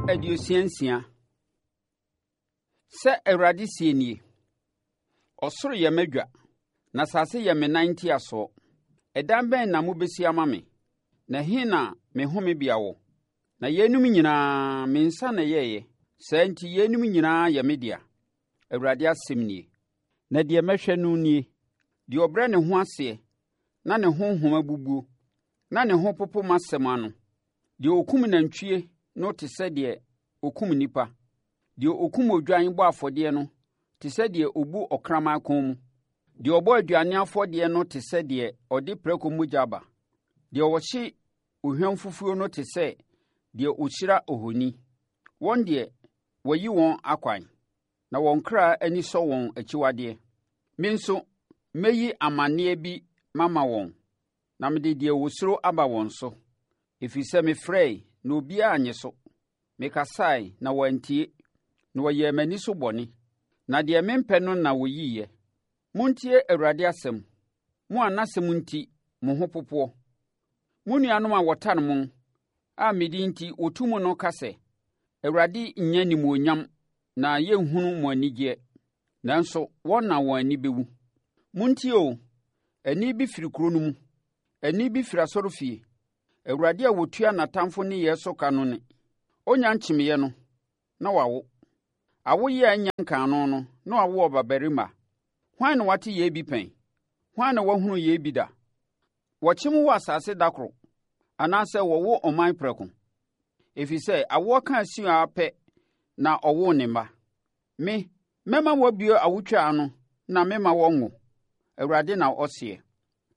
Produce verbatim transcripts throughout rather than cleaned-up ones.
Aduosia nsia. Sɛ Awurade seɛ nie: Ɔsoro yɛ m'adwa, na asase yɛ me nan ntiasoɔ. Ɛdan bɛn na mobɛsi ama me? Na ɛhe na me homebea wɔ? Na yeinom nyinaa, me nsa na ɛyɛeɛ. Saa nti yeinom nyinaa yɛ me dea, Awurade asɛm nie. Na deɛ mɛhwɛ no nie: deɛ ɔbrɛ ne ho aseɛ na ne honhom abubuo, na ne ho popo m'asɛm ano. Deɛ ɔkum nantwie no te sɛ deɛ ɔkum nnipa. Deɛ ɔkum odwan bɔ afɔdeɛ no te sɛ deɛ ɔbu ɔkraman kɔn mu. Deɛ ɔbɔ aduane afɔdeɛ no te sɛ deɛ ɔde prako mogya ba. Deɛ ɔhye ohwam fufuo no te sɛ deɛ ɔhyira ohoni. Wɔn deɛ, wɔayi wɔn akwan, na wɔn kra ani sɔ wɔn akyiwadeɛ. Me nso, mɛyi amaneɛ bi mama wɔn, na mede deɛ wɔsuro aba wɔn so. Ɛfiri sɛ mefrɛe, na obiara annye so. Mekasae, na wɔantie, na wɔyɛɛ m'ani so bɔne, na deɛ mempɛ no na wɔyiiɛ. Montie Awurade asɛm, mo a n'asɛm nti mo ho popoɔ. Mo nuanom a wɔtane mo, a me din nti wɔtu mo no ka sɛ, Awurade nnya animuonyam na yɛnhunu mo anigyeɛ. Nanso wɔn na wɔn ani bɛwu. Montie o, ɛnne bi firi kuro no mu, ɛnne bi firi asɔrefie. Awurade a ɔtua n'atamfo nneyɛɛ so ka no nne. Ɔnnya nkyemeeɛ no, na wawo. Awoyea a ɛnnya nkaa no no, na wawo ɔbabarima. Hwan na wate yei bi pɛn? Hwan na wahunu yei bi da? Wɔkyem wo asase da koro, anaasɛ wɔwo ɔman prɛko? Ɛfiri sɛ awoɔ kaa Sion ara pɛ na ɔwoo ne mma. Me, mɛma wɔabue awotwaa ano na memma wɔnwo, Awurade na ɔseɛ.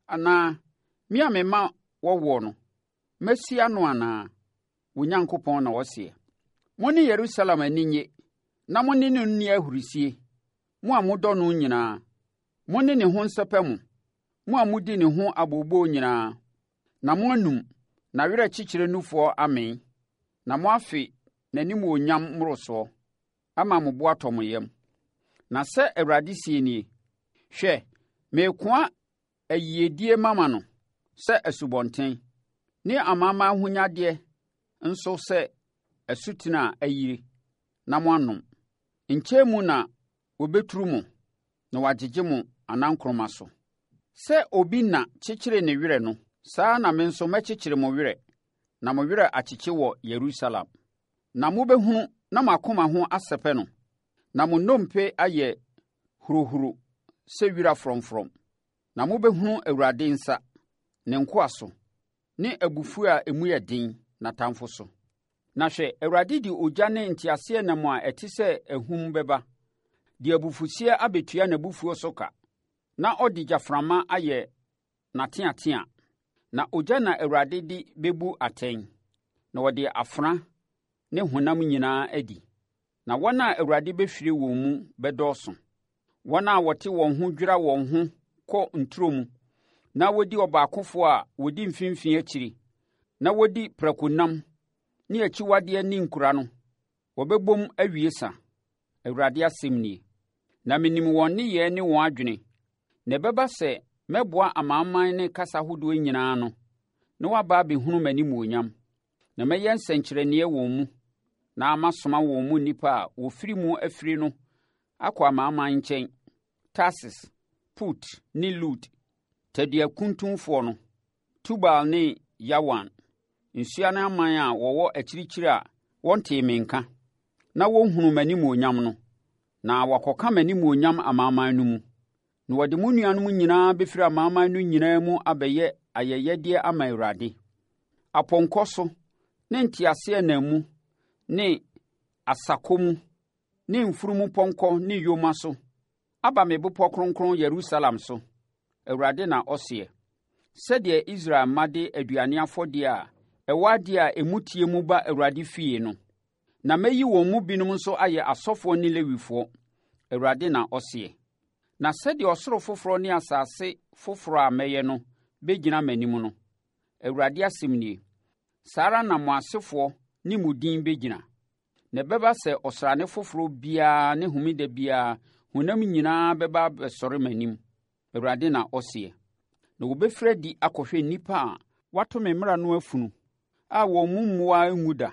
Anaa me a mema wɔwoɔ no, mɛsi ano anaa? Wo Nyankopɔn na ɔseɛ. Mo ne Yerusalem ani nnye, na mo ne no nni ahurisie, mo a modɔ no nyinaa. Mo ne ne ho nsɛpɛ mo, mo a modi ne ho abooboo nyinaa, na moanum n'awerɛkyekyerɛ nufoɔ amee, na moafe n'animuonyam mmorosoɔ, ama mo bo atɔ mo yam. Na sɛ Awurade seɛ nie: Hwɛ, merekoa ayiedie mama no sɛ asubɔnten, ne amanaman ahonyadeɛ nso sɛ asutene a ayiri, na moanom. Nkyɛn mu na wɔbɛturu mo na wɔagyegye mo anankoroma so. Sɛ obi na kyekyere ne werɛ no, saa ara na me nso mɛkyekyere mo werɛ, na mo werɛ akyekye wɔ Yerusalem. Na mobɛhunu na mo akoma ho asɛpɛ no, na mo nnompe ayɛ hurohuro sɛ wira frɔmfrɔm. Na mobɛhunu Awurade nsa, ne nkoa so, ne abufuo a emu yɛ den, n'atamfo so. Na hwɛ, Awurade de ogya ne nteaseɛnam a ɛte sɛ ahum bɛba, de abufuhyeɛ abɛtua n'abufuo so ka, na ɔde gyaframa ayɛ n'ateatea. Na ogya na Awurade de bɛbu atɛn, na ɔde afena ne honam nyinaa adi. Na wɔn a Awurade bɛhwire wɔn mu bɛdɔɔso. Wɔn a wɔte wɔn ho dwira wɔn ho kɔ nturo mu, na wɔdi ɔbaakofoɔ a wɔdi mfimfini akyiri, na wɔdi prakonam ne akyiwadeɛ ne nkura no, wɔbɛbom awie sa, Awurade asɛm nie. Na menim wɔn nneyɛɛ ne wɔn adwene. Na ɛbɛba sɛ mɛboa amanaman ne kasa ahodoɔ nyinaa ano, na wɔaba abɛhunu m'animuonyam. Na mɛyɛ nsɛnkyerɛnneɛ wɔn mu, na masoma wɔn mu nnipa a wɔfiri mu afiri no akɔ amanaman nkyɛn, Tarsis, Put ne Lud, taduakuntunfoɔ no, Tubal ne Yawan, nsuano aman a wɔwɔ akyirikyiri a wɔntee me nka, na wɔnhunuu m'animuonyam no, na wɔakɔka m'animuonyam amanaman no mu. Na wɔde mo nuanom nyinaa bɛfiri amanaman no nyinaa mu abɛyɛ ayɛyɛdeɛ ama Awurade, apɔnkɔ so ne nteaseɛnam mu ne asakɔ mu ne mfunumupɔnkɔ ne yoma so aba me bepɔ kronkron Yerusalem so, Awurade na ɔseɛ. Sɛdeɛ Israel mma de aduane afɔdeɛ a ɛwɔ adeɛ a emu teɛ mu ba Awurade fie no, na mɛyi wɔn mu binom nso ayɛ asɔfoɔ ne Lewifoɔ, Awurade na ɔseɛ. Na sɛdeɛ ɔsoro foforɔ ne asase foforɔ a mɛyɛ no bɛgyina m'anim no, Awurade asɛm nie, saa ara na mo asefoɔ ne mo din bɛgyina. Na ɛbɛba sɛ ɔsrane foforɔ biara ne homeda biara honam nyinaa bɛba abɛsɔre m'anim, Awurade na ɔseɛ. Na wɔbɛfiri adi akɔhwɛ nnipa a wɔato me mmara no afunu a wɔn mu mmoaa renwu da,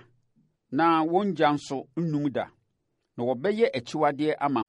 na wɔn gya nso rennum da, na wɔbɛyɛ akyiwadeɛ ama